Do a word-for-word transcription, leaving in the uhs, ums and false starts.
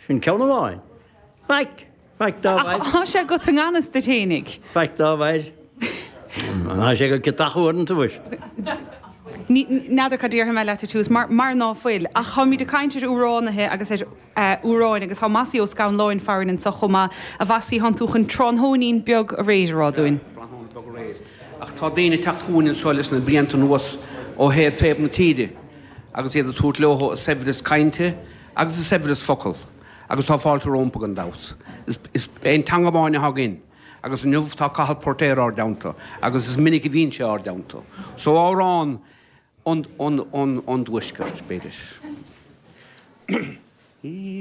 Sin ceann amháin. Faic! Faic dá bharr. Ach tá sé agat i ngan fhios duit fhéinig. Faic dá bharr. Tá sé go ciotach uaireanta mhuis. N'fheadar cad déarfaidh mé leat ar tús, mar mar ná fuil. Ach táimid ag caint ar amhránaithe agus ar amhráin agus tá Mossie Ó Scanláin farainn anseo chomh maith. A Mhossie, thánn tú chun tráthnóinín beag aréir a rá dúinn. Tráthnóna beag aréir. Ach tá daoine ag teacht chugainn anseo leis na blianta anuas ó thaobh taobh na tíre agus iad ag tabhairt leo a saibhreas cainte agus a saibhreas focal agus tá fáilte rompu gan dabht. Is aon teanga amháin atá againn agus inniu tá Cathal Póirtéir ár dteannta agus is minic a bhíonn sé ár dteannta. So amhrán ón dtuaisceart, b'fhéidir.